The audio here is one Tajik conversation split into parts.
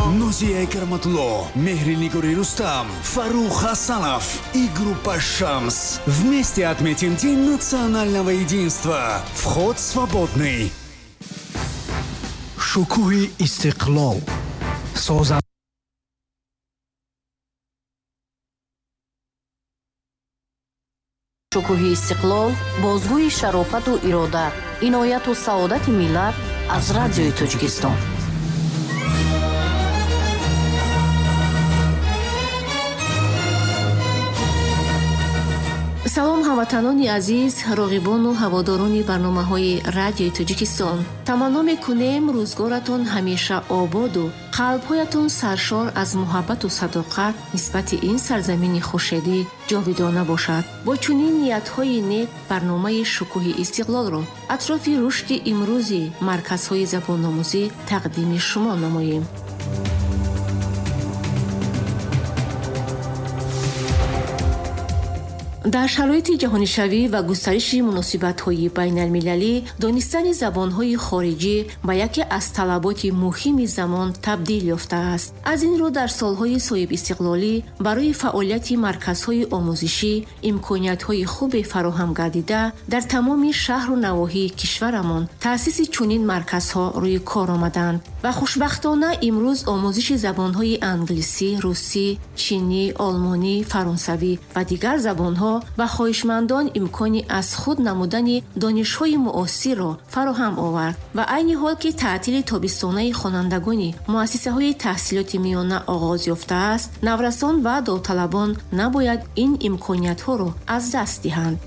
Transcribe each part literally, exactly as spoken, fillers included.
Нозия Караматулло, Мехринигори Рустам, Фарух Хасанов и группа «Шамс». Вместе отметим День национального единства. Вход свободный. Шукӯҳи истиқлол соза. Шукӯҳи истиқлол бозгӯи шарофату ирода, инояту саодати миллат аз Радиои Тоҷикистон. Салом, ҳамватанони азиз, роғибону ҳаводорони барномаҳои Радиои Тоҷикистон. Таманно мекунем рӯзгоратон ҳамеша ободу қалбҳоятон саршор аз муҳаббату садоқат нисбати ин сарзамини хуршедӣ ҷовидона бошад. Бо чунин ниятҳои нек барномаи Шукӯҳи истиқлолро атрофи рушди имрӯзи марказҳои забономӯзӣ тақдими шумо намоем. Дар шароити ҷаҳонишавӣ ва густариши муносибатҳои байналмилалӣ донистани забонҳои хориҷӣ ба яке аз талаботи муҳими замон табдил ёфтааст. Аз ин рӯ дар солҳои соҳибистиқлолӣ барои фаъолияти марказҳои омӯзишӣ имкониятҳои хубе фароҳам гардида, дар тамоми шаҳру навоҳии кишварамон таъсиси чунин марказҳо рӯи кор омаданд ва хушбахтона имрӯз омӯзиши забонҳои англисӣ, русӣ, чинӣ, олмонӣ, фаронсавӣ ва дигар забонҳо ба хоҳишмандон имкони аз худ намудани донишҳои муосирро фароҳам овард. Ва айни ҳол ки таътили тобистонаи хонандагони муассисаҳои таҳсилоти миёна оғоз ёфтааст, наврасон ва довталабон набояд ин имкониятҳоро аз даст диҳанд.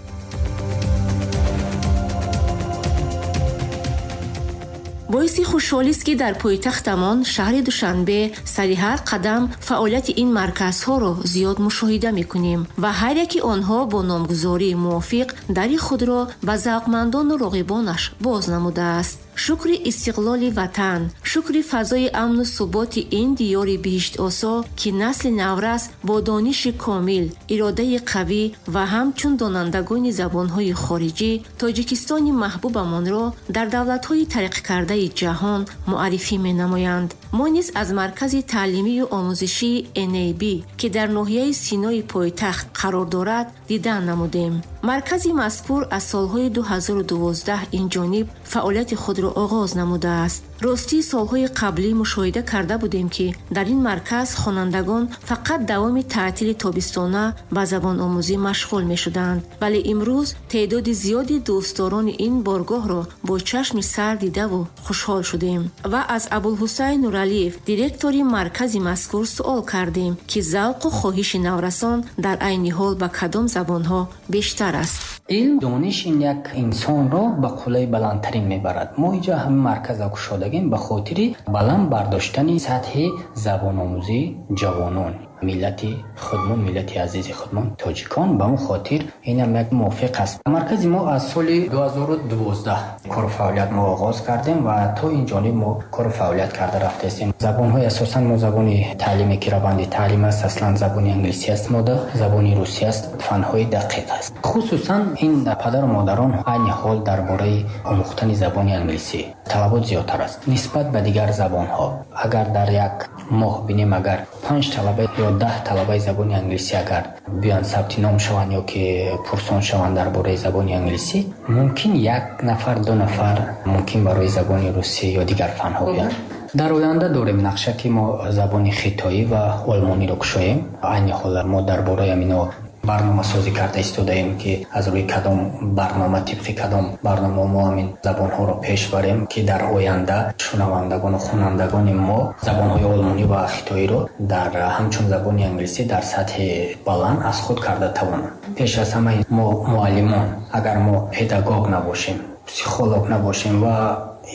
Боиси хушҳолист, ки дар пойтахтамон шаҳри Душанбе сари ҳар қадам фаъолияти ин марказҳоро зиёд мушоҳида мекунем ва ҳар яки онҳо бо номгузории мувофиқ дари худро ба завқмандону роғибонаш боз намудааст. Шукри истиқлоли ватан, шукри фазои амну суботи ин диёри биҳиштосо, ки насли наврас бо дониши комил, иродаи қавӣ ва ҳамчун донандагони забонҳои хориҷӣ Тоҷикистони маҳбубамонро дар давлатҳои тараққикардаи ҷаҳон муаррифӣ менамоянд. Мо низ аз маркази таълимию омӯзишии эн эй би, ки дар ноҳияи Синои пойтахт қарор дорад, дидан намудем. Маркази мазкур аз солҳои ду ҳазору дувоздаҳ инҷониб фаъолияти худро оғоз намудааст. Ростӣ солҳои қаблӣ мушоҳида карда будем, ки дар ин марказ хонандагон фақат давоми таътили тобистона ба забономӯзӣ машғул мешуданд, вале имрӯз теъдоди зиёди дӯстдорони ин боргоҳро бо чашми сар дидаву хушҳол шудем ва аз Абулҳусайн Нуралиев, директори маркази мазкур, суол кардем, ки завқу хоҳиши наврасон дар айни ҳол ба кадом забонҳо бештар аст. Илм, дониш ин як инсонро ба қуллаи баландтарин мебарад. Мо инҷо ҳамин марказро кушодагем ба хотири баланд бардоштани сатҳи забономӯзии ҷавонон, миллати худмон, миллати азизи худмон тоҷикон. Ба он хотир инам як мувофиқ аст. Маркази мо аз соли ду ҳазору дувоздаҳ кору фаъолият мо оғоз кардем ва то ин ҷониб мо кору фаъолият карда рафтаистем. Забонҳои асосан мо забони таълиме ки раванди таълим аст, аслан забони англисӣ аст, мода забони русӣ аст, фанҳои дақиқ аст. Хусусан ин падару модарон айни ҳол дар бораи омӯхтани забони англисӣ талабот зиёдтар аст нисбат ба дигар забонҳо. Агар дар як моҳ бинем, агар панҷ талаба ё даҳ талабаи забони англисӣ агар биён сабти ном шаванд ё ки пурсон шаванд дар бораи забони англисӣ, мумкин як нафар, ду нафар мумкин барои забони русӣ ё дигар фанҳо биёнд. Дар оянда дорем нақша, ки мо забони хитоӣ ва олмониро кушоем. Айни ҳол мо дар бораи ҳамино барномасозӣ карда истодаем, ки аз рӯи кадом барнома, тибқи кадом барнома мо ҳамин забонҳоро пеш барем, ки дар оянда шунавандагону хонандагони мо забонҳои олмонӣ ва хитоиро дар ҳамчун забони англисӣ дар сатҳи баланд аз худ карда тавонанд. Пеш аз ҳама мо муаллимон, агар мо педагог набошем, психолог набошем ва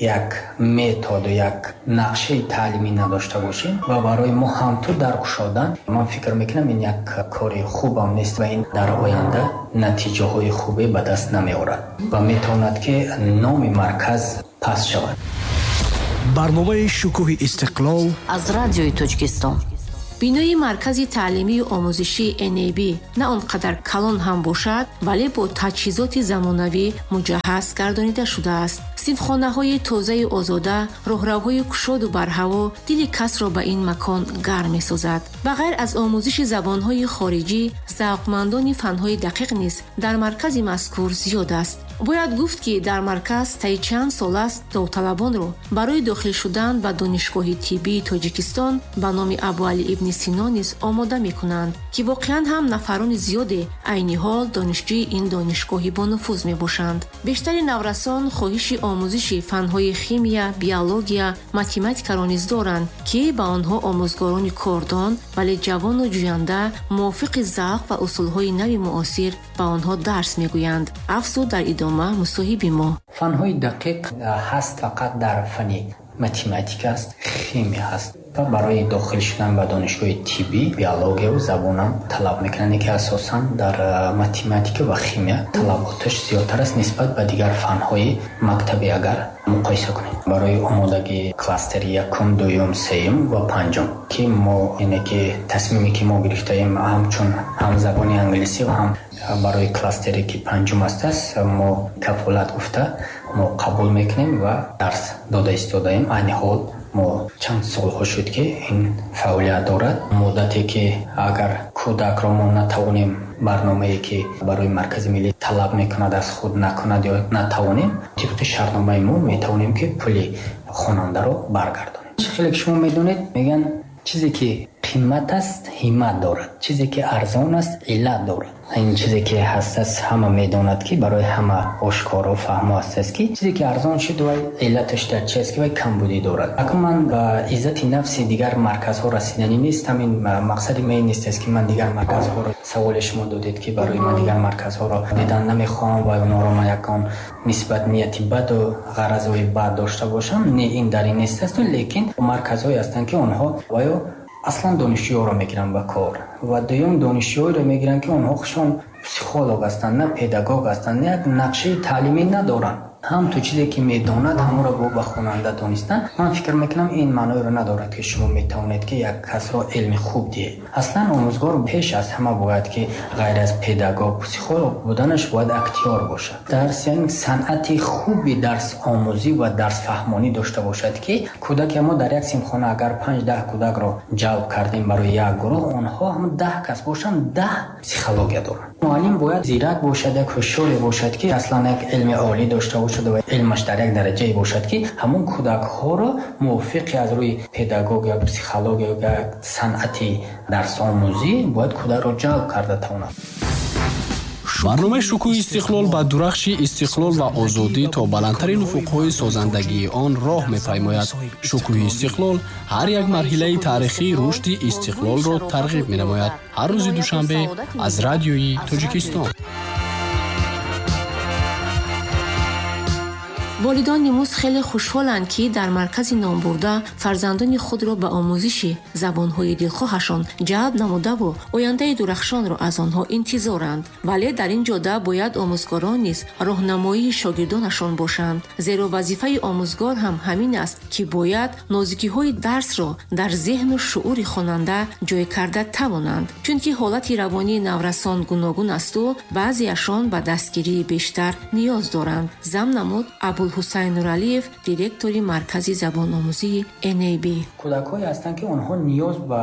як методу як нақшаи таълимӣ надошта бошем ва барои мо ҳам ту дар кушодан, ман фикр мекунам ин як кори хубам нест ва ин дар оянда натиҷаҳои хубе ба даст намеорад ва метавонад ки номи марказ паст шавад. Барномаи Шукӯҳи истиқлол аз Радиои Тоҷикистон. Бинои маркази таълимию омӯзишии эн эй би на он қадар калон ҳам бошад, вале бо таҷҳизоти замонавӣ муҷаҳҳаз гардонида шудааст. Синфхонаҳои тозаю озода, роҳравҳои кушоду барҳаво дили касро ба ин макон гарм месозад. Ба ғайр аз омӯзиши забонҳои хориҷӣ, завқмандони фанҳои дақиқ низ дар маркази мазкур зиёд аст. Бояд гуфт, ки дар марказ таи чанд сол аст довталабонро барои дохил шудан ба Донишгоҳи тиббии Тоҷикистон ба номи Абуалӣ ибни Сино низ омода мекунанд, ки воқеан ҳам нафарони зиёде айни ҳол донишҷӯи ин донишгоҳи бонуфуз мебошанд. Бештари наврасон хоҳиши омӯзиши фанҳои химия, биология, математикаро низ доранд, ки ба онҳо омӯзгорони кордон, вале ҷавону ҷӯянда мувофиқи завқ ва усулҳои нави муосир ба онҳо дарс мегӯянд. Афзуд дар идома мусоҳиби мо. Фанҳои дақиқ ҳаст фақат дар фани математика аст, химия ҳаст ва барои дохил шудан ба донишгоҳи тиббӣ биологияву забонам талаб мекунанд, ки асосан дар математика ва химия талаботаш зиёдтар аст нисбат ба дигар фанҳои мактабӣ агар муқоиса кунем. Барои омодагии кластери якум, дуюм, сеюм ва панҷум, ки мо яъне ки тасмиме ки мо гирифтаем ҳамчун ҳам забони англисӣ ва ҳам барои кластере ки панҷум аст аст мо кафолат гуфта мо қабул мекунем ва дарс дода истодаем. Айни ҳол мо чанд солҳо шуд, ки ин фаъолият дорад. Муддате ки агар кӯдакро мо натавонем барномае ки барои маркази миллӣ талаб мекунад аз худ накунад ё натавонем, тибқи шартномаи мо метавонем ки пули хонандаро баргардонем. Хеле ки шумо медонед, мегӯянд чизе ки қимат аст ҳиммат дорад, чизе ки арзон аст иллат дорад. Ин чизе ки ҳаст аст ҳама медонад, ки барои ҳама ошкоро фаҳмо аст аст, ки чизе ки арзон шуд вай иллаташ дар чи аст, ки вай камбудӣ дорад. Акун ман ба иззати нафси дигар марказҳо расиданӣ нестам. Ин мақсади ман нест аст, ки ман дигар марказҳоро, саволи шумо додед, ки барои ман дигар марказҳоро дидан намехоҳам ва онҳоро ман ягон нисбат нияти баду ғаразҳои бад дошта бошам. Не, ин дар ин нест аст, лекин марказҳое ҳастанд, ки онҳо ваё аслан донишҷӯёро мегиранд ба кор ва дуюм донишҷӯёро мегиранд, ки онҳо худшон психолог ҳастанд, на педагог ҳастанд, як нақшаи таълимӣ надоранд. Ҳам ту чизе ки медонад ҳамонро бо ба хонанда донистан, ман фикр мекунам ин маъноеро надорад, ки шумо метавонед ки як касро илми хуб диҳед. Аслан омӯзгор пеш аз ҳама бояд ки ғайр аз педагог, психолог буданаш бояд актёр бошад. Дарс яъне санъати хуби дарсомӯзӣ ва дарсфаҳмонӣ дошта бошад, ки кӯдаке мо дар як синфхона агар панҷ-даҳ кӯдакро ҷалб кардем барои як гурӯҳ, онҳо ҳам даҳ кас бошанд, даҳ психология доранд. Муаллим бояд зирак бошад, як ҳушёре бошад, ки аслан як илми олӣ дошта бошад ва илмаш дар як дараҷае бошад, ки ҳамон кӯдакҳоро мувофиқи аз рӯи педагогия, психология ё санъати дарсомӯзӣ бояд кӯдакро ҷалб карда тавонад. Барномаи шукӯҳи истиқлол ба дурахши истиқлол ва озодӣ то баландтарин уфуқҳои созандагии он роҳ мепаймояд. Шукӯҳи истиқлол ҳар як марҳилаи таърихии рушди истиқлолро тарғиб менамояд. Ҳар рӯзи душанбе аз радиои Тоҷикистон. Волидон имрӯз хеле хушҳоланд, ки дар маркази номбурда фарзандони худро ба омӯзиши забонҳои дилхоҳашон ҷалб намудаву ояндаи дурахшонро аз онҳо интизоранд. Вале дар ин ҷода бояд омӯзгорон низ роҳнамоии шогирдонашон бошанд, зеро вазифаи омӯзгор ҳам ҳамин аст, ки бояд нозикиҳои дарсро дар зеҳну шуури хонанда ҷой карда тавонанд, чунки ҳолати равонии наврасон гуногун асту баъзеашон ба дастгирии бештар ниёз доранд. Зам намуд Абул Ҳусайн Нуралиев, директори маркази забономӯзии эн эй би. Кӯдакҳое ҳастанд, ки онҳо ниёз ба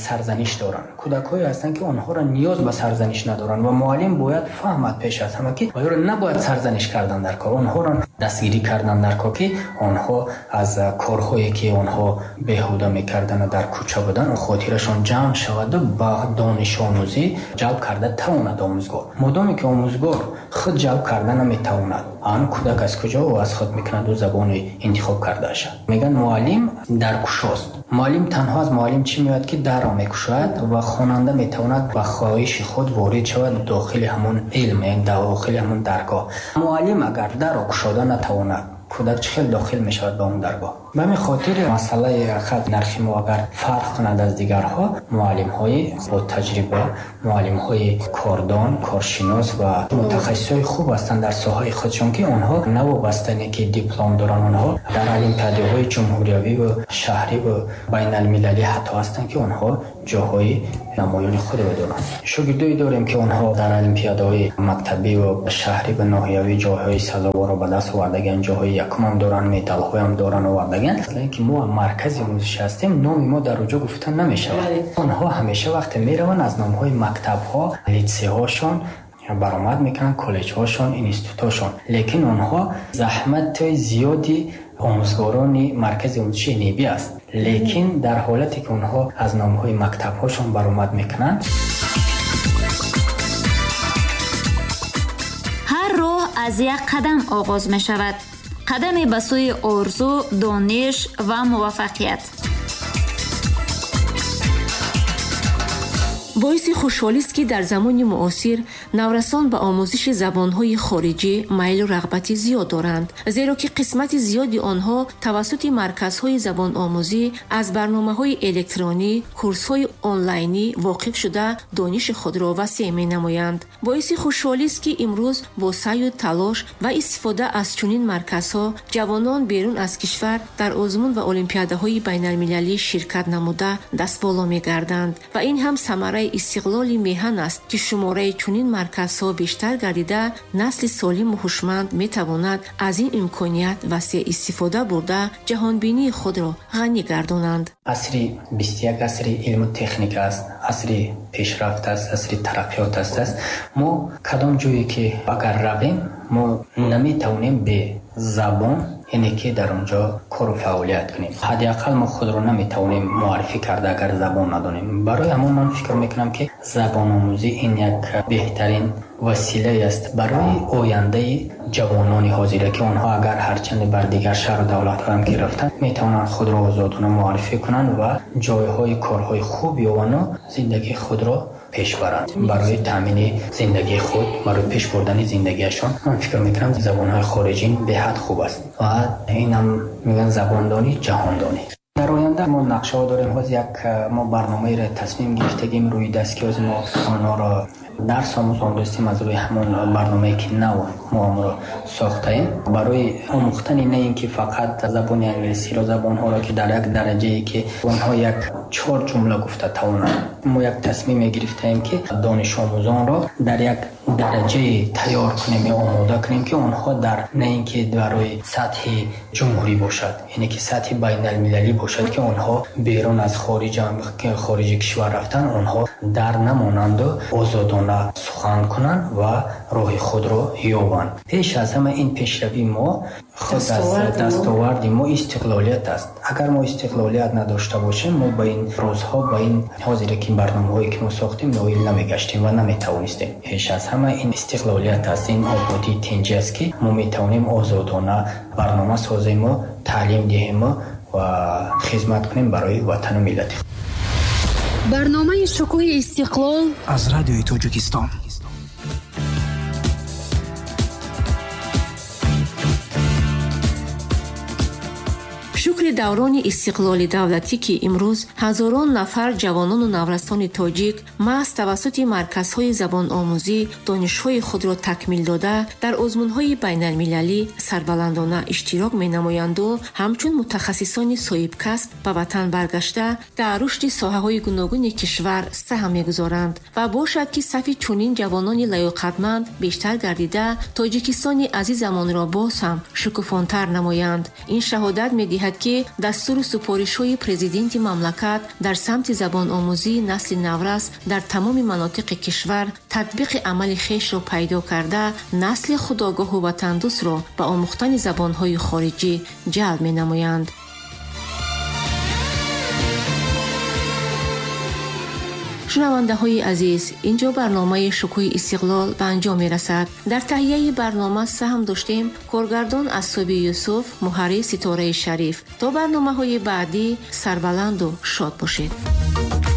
сарзаниш доранд, кӯдакҳое ҳастанд, ки онҳоро ниёз ба сарзаниш надоранд ва муаллим бояд фаҳмад пеш аз ҳама, ки онҳоро набояд сарзаниш кардан дар кор, онҳоро дастгирӣ кардан дар кор, ки онҳо аз корҳое ки онҳо беҳуда мекарданд ва дар кӯча буданд, хотирашон ҷамъ шавад ва ба донишомӯзӣ ҷалб карда тавонад омӯзгор. Модоме ки омӯзгор худ ҷалб карда наметавонад, ан кӯдак аз куҷо ӯ аз худ мекунад ӯ забони интихоб кардаашад. Мегӯянд муаллим дар кушост. Муаллим танҳо аз муаллим чӣ меояд, ки дарро мекушояд ва хонанда метавонад ба хоҳиши худ ворид шавад дохили ҳамон илм, яъне дохили ҳамон даргоҳ. Муаллим агар дарро кушода натавонад, кӯдак чӣ хел дохил мешавад ба он даргоҳ? Ба ҳамин хотир масъалаи хат нархи мо агар фарқ кунад аз дигарҳо, муаллимҳои бо таҷриба, муаллимҳои кордон, коршинос ва мутахассисҳои хуб ҳастанд дар соҳаи худшон, ки онҳо новобаста не ки диплом доранд, онҳо дар олимпиадаҳои ҷумҳуриявӣ ва шаҳрӣ ва байналмилалӣ ҳатто ҳастанд, ки онҳо ҷоҳои намоёни худро доранд. Шогирдое дорем, ки онҳо дар олимпиадаҳои мактабӣ ва шаҳрӣ ва ноҳиявӣ ҷойҳои сазоворро ба даст овардагианд, ҷойҳои якумам доранд, медалҳоям доранд овардагианд. Ки мо маркази омӯзишӣ ҳастем, номи мо дар оҷо гуфта намешавад. Онҳо ҳамеша вақте мераванд аз номҳои мактабҳо, литсейҳошон баромад мекунанд, коллеҷҳошон, институтҳошон. Лекин онҳо заҳмати зиёди омӯзгорони маркази омӯзиши НИБИ аст. Лекин дар ҳолате ки онҳо аз номҳои мактабҳошон баромад мекунанд, ҳар роҳ аз як қадам оғоз мешавад. Қадаме ба сӯи орзу, дониш ва муваффақият. Боиси хушҳолист, ки дар замони муосир наврасон ба омӯзиши забонҳои хориҷӣ майлу рағбати зиёд доранд, зеро ки қисмати зиёди онҳо тавассути марказҳои забономӯзӣ аз барномаҳои электронӣ, курсҳои онлайнӣ воқиф шуда дониши худро васеъ менамоянд. Боиси хушҳолист, ки имрӯз бо саъю талош ва истифода аз чунин марказҳо ҷавонон берун аз кишвар дар озмун ва олимпиадаҳои байналмилалӣ ширкат намуда дастболо мегарданд ва ин ҳам самараи истиқлоли меҳан аст, ки шумораи чунин марказҳо бештар гардида насли солиму ҳушманд метавонад аз ин имконият васеъ истифода бурда ҷаҳонбинии худро ғанӣ гардонанд. Асри бисту як асри илму техника аст, асри пешрафт аст, асри тараққиёт аст. Мо кадом ҷое ки агар равем, мо наметавонем бе забон, яъне ки дар он ҷо кору фаъолият кунем. Ҳадди ақал мо худро наметавонем муаррифӣ карда агар забон надонем. Барои ҳамон ман фикр мекунам, ки забономӯзӣ ин як беҳтарин василае аст барои ояндаи ҷавонони ҳозира, ки онҳо агар ҳарчанд бар дигар шаҳру давлатҳоям ки рафтанд, метавонанд худро озодона муаррифӣ кунанд ва ҷойҳои корҳои хуб ёвану зиндагии худро пеш баранд. Барои таъмини зиндагии худ, барои пеш бурдани зиндагиашон ман фикр мекунам забонҳои хориҷӣ беҳад хуб аст ва инам мегӯянд забондонӣ ҷаҳондонӣ. Дар оянда мо нақшаҳо дорем. Ҳоз як мо барномаеро тасмим гирифтагим рӯи даст, ки ҳоз мо онҳоро дарс омӯзондастем аз рӯи ҳамон барномае ки нав мо онро сохтаем, барои омӯхтани на ин ки фақат забони англисиро, забонҳоро ки дар як дараҷае ки онҳо як чор ҷумла гуфта тавонанд. Мо як тасмиме гирифтаем, ки донишомӯзонро дар як дараҷае тайёр кунем ё омода кунем, ки онҳо дар на ин ки барои сатҳи ҷумҳурӣ бошад, яъне ки сатҳи байналмилалӣ бошад, ки онҳо берун аз хориҷи кишвар рафтан, онҳо дар намонанду озодона сухан кунанд ва роҳи худро ёбанд. Пеш аз ҳама ин пешравии мо худ аз дастоварди мо истиқлолият аст. Агар мо истиқлолият надошта бошем, мо ба ин рӯзҳо, ба ин ҳозире ки барномаҳое ки мо сохтем, ноил намегаштем ва наметавонистем. Пеш аз ҳама ин истиқлолият аст, ин ободии тинҷӣ аст, ки мо метавонем озодона барнома созему, таълим диҳему ва хизмат кунем барои ватану миллати худ. Барномаи шукӯҳи истиқлол аз радиои Тоҷикистон. Шукри даврони истиқлоли давлатӣ, ки имрӯз ҳазорон нафар ҷавонону наврасони тоҷик маҳз тавассути марказҳои забономӯзӣ донишҳои худро такмил дода, дар озмунҳои байналмилалӣ сарбаландона иштирок менамоянду ҳамчун мутахассисони соҳибкасб ба ватан баргашта дар рушди соҳаҳои гуногуни кишвар саҳм мегузоранд ва бошад, ки сафи чунин ҷавонони лаёқатманд бештар гардида Тоҷикистони азизамонро боз ҳам шукуфонтар намоянд. Ин шаҳодат медиҳад, ки дастуру супоришҳои президенти мамлакат дар самти забономӯзии насли наврас дар тамоми манотиқи кишвар татбиқи амали хешро пайдо карда, насли худогоҳу ватандӯстро ба омӯхтани забонҳои хориҷӣ ҷалб менамоянд. Шунавандаҳои азиз, инҷо барномаи шукӯҳи истиқлол ба анҷом мерасад. Дар таҳияи барнома саҳм доштем коргардон Асоби Юсуф, муҳаррир Ситораи Шариф. То барномаҳои баъдӣ сарбаланду шод бошед.